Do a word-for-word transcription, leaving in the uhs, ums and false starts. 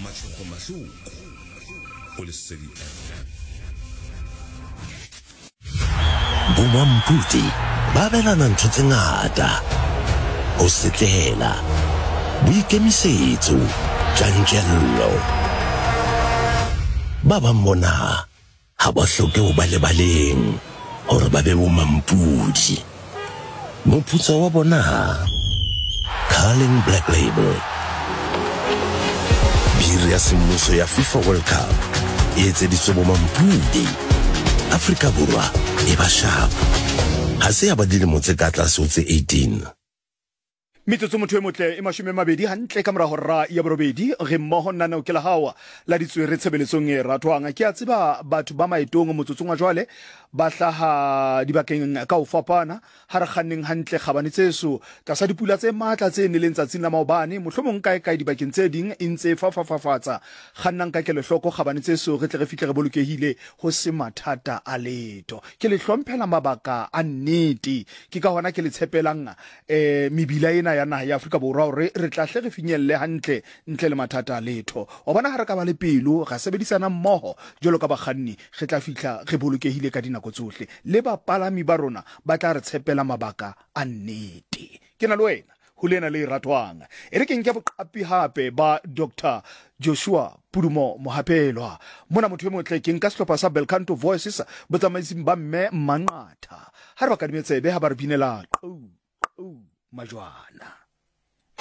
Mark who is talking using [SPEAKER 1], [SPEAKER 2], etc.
[SPEAKER 1] Matšhokgo Mahloko go Lesedi F M.
[SPEAKER 2] Bomampudi ba abelana ntho tse ngata, ho setlela, boikemisetso, tjantjello. Ba bang bona ha ba hloke ho ba lebaleng hore ba be bomampudi. Moputso wa bona, Carling Black Label. Biri ya semmuso ya FIFA World Cup e etseditswe bomampudi. Afrika Borwa e ba sharp. Ha se ya ba dilemo tse ka tlase ho tse eighteen.
[SPEAKER 3] Metsotso motho e motle e mashome a mabedi hantle ka mora hora ya borobedi, re mmoho nnaneo ke la hao la ditswere tshebeletsong e ratwang. Ke a tseba batho ba maetong motsotsong wa jwale ba hlaha dibakeng ka ho fapana, ha re kganneng hantle kgabane tseso tlasa dipula tse matla tse neleng tsatsing la maobane, mohlomong kae kae dibakeng tse ding e ntse fafafafatsa. Kgannang ka kelohloko kgabane tseso, re tle re fihle re bolokehile ho se mathata a letho. Ke le hlomphela mabaka a nnete, ke ka hona ke le tshepelang eh mebila ena ya naha ya Afrika Borwa hore re tla hle re finyelle hantle ntle le mathata a letho. Wa bona ha re ka ba le pelo ra sebedisana mmoho jwalo ka bakganni, re tla fihla re bolokehile ka dinako tsohle, le bapalami ba rona ba tla re tshepela mabaka a nnete. Ke na le wena ho lena le ratwang. E re ke nke boqapi hape ba Doctor Joshua Pudumo Mohapelwa. Mona motho e motle ke nka sehlopha sa Belcanto Voices botsamaising ba mme Manqatha. Ha re ba kadime tsebe ha ba re binela qou qou majwana.